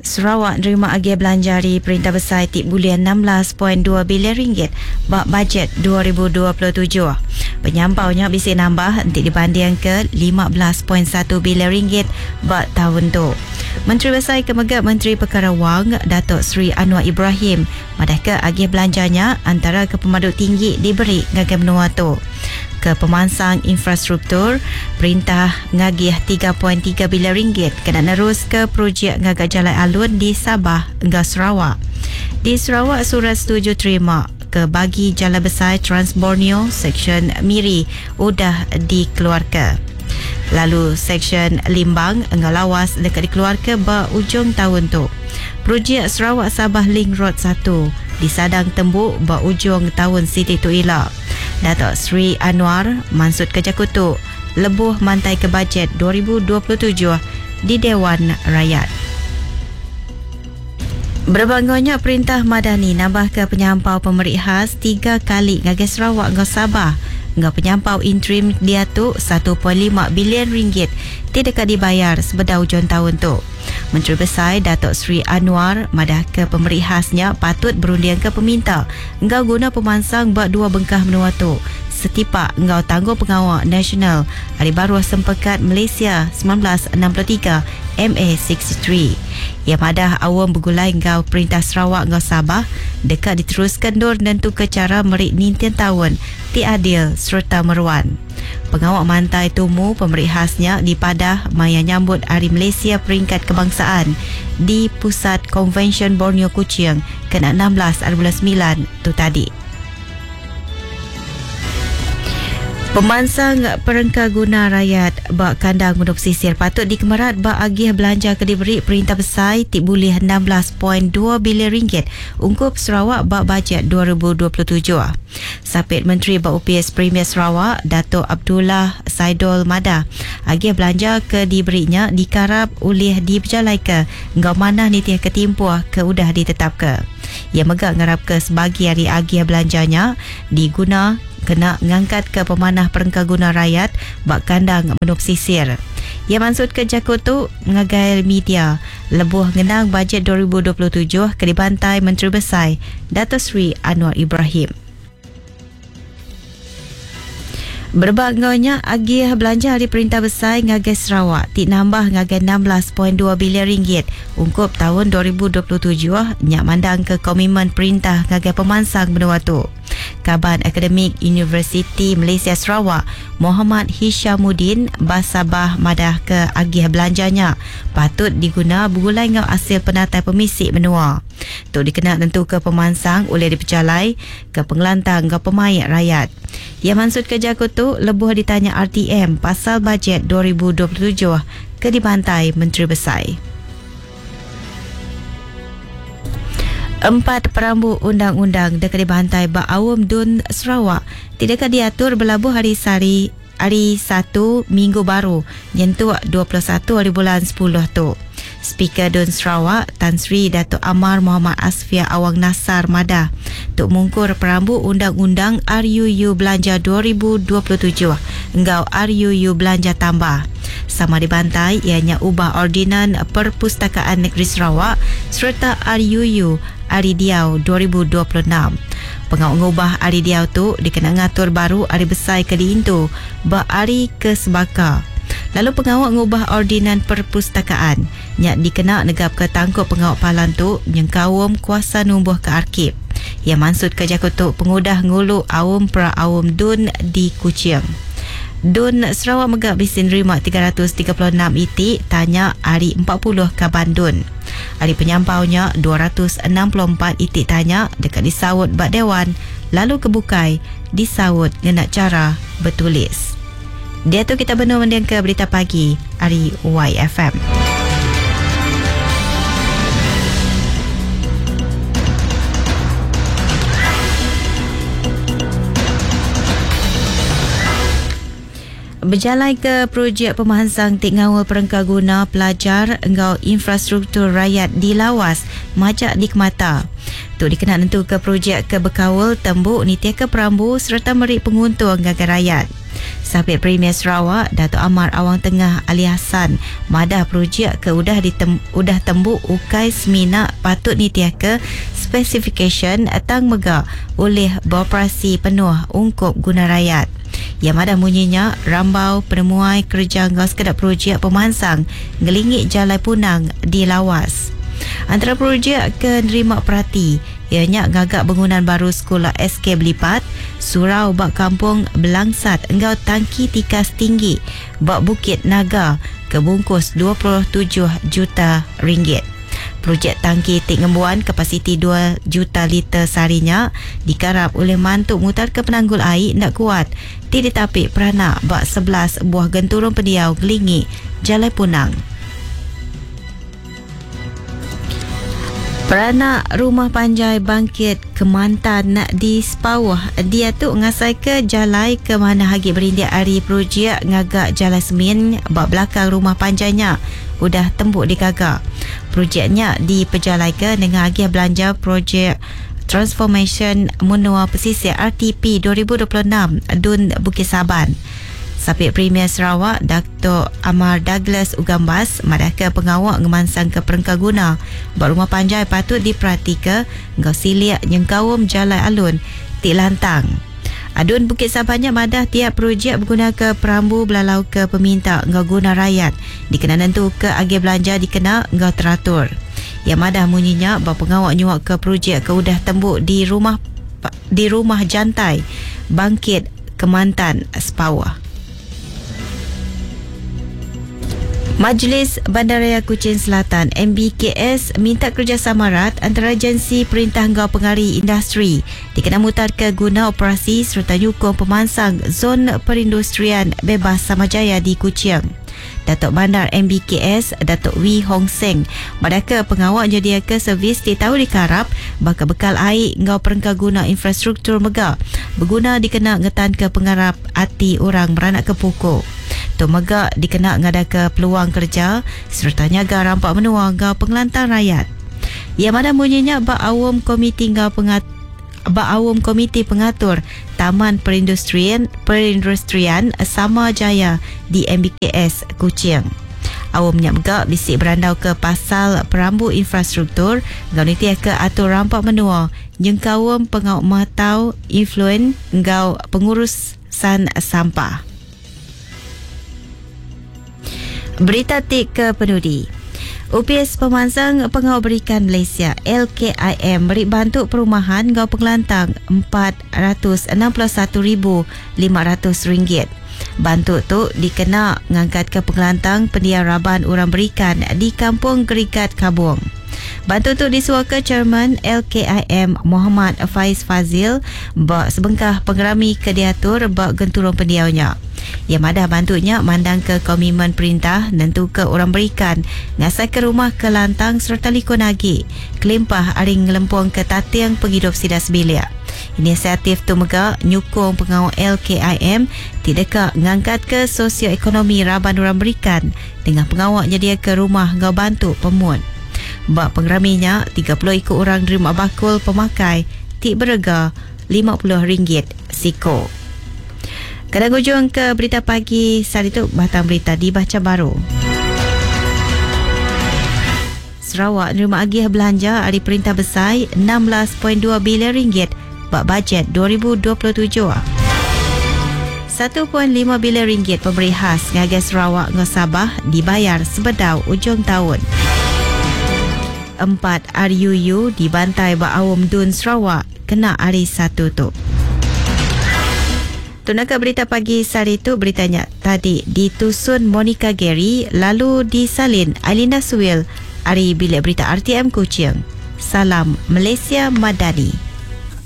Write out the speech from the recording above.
Sarawak nerima agih belanja ari Perintah Besai ti bulih 16.2 bilion ringgit ba bajet 2027. Penyampau nya bisi nambah enti dibandingka 15.1 bilion ringgit ba taun tu. Menteri Besai ke mega Menteri Pekara Wang, Datuk Seri Anwar Ibrahim madahka agih belanja nya antara ke pemadu tinggi diberi ngagai menua tu. Ke pemansang infrastruktur, perintah ngagih 3.3 bilion ringgit kena neruska projek ngaga jalai alun di Sabah enggau Sarawak. Di Sarawak, surat setuju terima ke bagi Jalai Besai Trans Borneo Seksyen Miri udah dikeluarka. Lalu Seksyen Limbang enggau Lawas deka dikeluarka ba ujung taun tu. Projek Sarawak Sabah Link Road satu disadang tembu ba ujung taun siti tu ila. Datuk Seri Anwar mansutka jaku tu lebuh mantaika Bajet 2027 di Dewan Rakyat. Berebak enggau nya, Perintah Madani nambahka penyampau pemeri khas tiga kali ngagai Sarawak enggau Sabah enggau penyampau interim diatu 1.5 bilion ringgit ti deka dibayar sebedau ujung taun tu. Menteri Besai Datuk Seri Anwar madahka pemeri khas nya patut berundingka peminta enggau guna pemansang ba dua bengkah menua tu setipak enggau tanggungpengawa nasional ari baruh Sempekat Malaysia 1963, MA63. Iya madah aum begulai enggau Perintah Sarawak enggau Sabah deka diteruska endur nentuka chara meri ninting taun ti adil sereta meruan. Pengawa mantai tumu pemeri khas nya dipadah maya nyambut Hari Malaysia Peringkat Kebangsaan di Pusat Konvensyen Borneo Kuching kena 16 ari bulan semilan tu tadi. Pemansang perengka guna rayat ba kandang menua pesisir patut dikemerat ba agih belanja ke diberi Perintah Besai ti bulih 16.2 bilion ringgit ungkup Sarawak ba Bajet 2027. Sapit Menteri ba Opis Premier Sarawak, Datuk Abdullah Saidol madah, agih belanja ke diberi nya dikarap ulih dipejalaika enggau manah nitihka timpuh ke udah ditetapka. Iya mega ngarapka sebagi ari agih belanja nya diguna kena ngangkatka pemanah perengka guna rayat ba kandang menua pesisir. Iya mansutka jaku tu ngagai media lebuh ngenang Bajet 2027 ke dibantai Menteri Besai Dato Seri Anwar Ibrahim. Berebak enggau nya, agih belanja ari Perintah Besai ngagai Sarawak ti nambah ngagai 16.2 bilion ringgit ungkup taun 2027 nya mandangka komitmen perintah ngagai pemansang menua tu. Kaban Akademik Universiti Malaysia Sarawak, Mohamad Hishamuddin Basabah madahka agih belanja nya patut diguna begulai enggau asil penatai pemisi menua. Tu dikena nentuka pemansang ulih dipejalai ke pengelantang enggau pemaik rayat. Iya mansutka jaku tu lebuh ditanya RTM pasal Bajet 2027 ke dibantai Menteri Besai. Empat perambu undang-undang deka dibantai ba Aum Dun Sarawak ti deka diatur belabuh hari sehari ari Satu minggu baru nyentuk 21 hari bulan sepuluh tu. Speaker Dun Sarawak, Tan Sri Datuk Amar Mohamad Asfia Awang Nassar madah, tu mungkur perambu Undang-Undang RUU Belanja 2027 enggau RUU Belanja Tambah. Sama dibantai iya nya ubah Ordinan Perpustakaan Negeri Sarawak sereta RUU Hari Diau 2026. Pengawa ngubah hari diau tu dikena ngatur baru hari besai ke diintu ba hari ke sebaka. Lalu pengawa ngubah Ordinan Perpustakaan nya dikena negapka tangkup pengawa palan tu nyengkaum kuasa numbuhka arkib. Iya mansutka jaku tu pengudah ngulu Aum Pra-Aum Dun di Kuching. Dun Sarawak mega bisi nerima 336 iti tanya ari 40 kaban Dun. Ari penyampau nya, 264 iti tanya deka disaut ba Dewan lalu ke bukai disaut ngena chara betulis. Diatu kita benung mendingka Berita Pagi ari YFM. Bejalaika projek pemansang ti ngaul perengka guna pelajar enggau infrastruktur rayat di Lawas majak dikemata. Tu dikena nentuka projek ke bekaul tembu nitihka perambu sereta meri penguntung ngagai rayat. Sapit Premier Sarawak, Datuk Amar Awang Tengah Ali Hassan, madah projek ke udah ditem, udah tembu ukai semina patut nitiah ke spesifikasyen tang mega ulih beroperasi penuh ungkup guna rakyat. Yang madah munyinya rambau penemuai kerja ngau sekedar projek pemansang ngelingi Jalai Punang di Lawas. Antara projek ke nerima perhati ianya ngagak bangunan baru sekolah SK Belipat, surau bak kampung Belangsat engau tangki tikas tinggi bak Bukit Naga ke bungkus 27 juta ringgit. Projek tangki tik ngembuan kapasiti 2 juta liter seharinya dikarap oleh mantu mutar ke penanggul air nak kuat ti ditapik peranak bak 11 buah genturung pendiau gelingi Jalai Punang. Peranak Rumah Panjai Bangkit Kemantan di Sepauh dia tu ngasai ke jalai ke mana hagi berindik hari projek ngagak jalai semin bak belakang rumah panjainya udah tembuk digagak. Projeknya dipejalai ke dengan agih belanja projek Transformation Menua Pesisir RTP 2026 Dun Bukit Saban. Sapit Premier Sarawak Datuk Amar Douglas Ugambas madah ke pengawak ngemansang ke perengkaguna bak rumah panjai patut diperhati ngau siliak nyengkaum jalai alun ti lantang. Adun Bukit Sabannya madah tiap projek berguna ke perambu belalau ke peminta ngau guna rakyat dikena nentu ke agih belanja dikena ngau teratur. Yang madah munyinya bak pengawak nyuak ke projek ke udah tembuk di rumah Jantai Bangkit Kemantan Sepawah. Majlis Bandaraya Kuching Selatan MBKS minta kerjasama rat antara agensi perintah ngau pengari industri dikena mutar ke guna operasi serta nyukung pemansang zon perindustrian bebas Samajaya di Kuching. Datuk Bandar MBKS Datuk Wee Hong Seng madah ke pengawak nyedia ke servis di tahu dikarap bakal bekal air ngau perengkaguna infrastruktur mega berguna dikena ngetan ke pengarap ati orang beranak ke pokok. Tu mega dikena ngada ke peluang kerja serta nyaga rampak menua ngau pengelantang rakyat. Ia mana bunyinya bak awam komiti ngau pengat bak awam komiti pengatur Taman Perindustrian Sama Jaya di MBKS Kuching. Awamnya mega bisik berandau ke pasal perambu infrastruktur ngau nitiah ke atur rampak menua nyengkawam pengau matau influen ngau pengurusan sampah. Berita tik ke penudi. UPS Pemansang Pengawal Berikan Malaysia LKIM beri bantu perumahan ngau pengelantang RM461,500. Bantu tu dikena ngangkat ke pengelantang pendiam raban orang berikan di Kampung Gerikat Kabung. Bantu tu disuaka Chairman LKIM Muhammad Faiz Fazil bak sebengkah pengerami kediatur bak genturung pendiaunya. Yang madah bantunya mandang ke komitmen perintah nentu ke orang berikan ngasai ke rumah ke lantang serta likun agi kelimpah aring ngelempung ke tatiang penghidup sidas bilik. Inisiatif tu mega nyukung pengawal LKIM tidak ke ngangkat ke sosioekonomi raban orang berikan dengan pengawal nyedia ke rumah ngau bantu pemun. Bak pengeraminya 30 ikut orang nerima bakul pemakai tik berega RM50 siko. Kadang ujung ke berita pagi saat itu batang berita dibaca baru. Sarawak nerima agih belanja hari perintah besar 16.2 bilion ringgit bak bajet 2027. 1.5 bilion ringgit pemberi khas ngagai Sarawak ngau Sabah dibayar sebedau ujung tahun. 4 RUU dibantai bak awam Dun Sarawak kena hari 1 tu. Tunaka berita pagi sehari itu beritanya tadi ditusun Monica Gary lalu disalin Alina Suwil hari bilik berita RTM Kuching. Salam Malaysia Madani.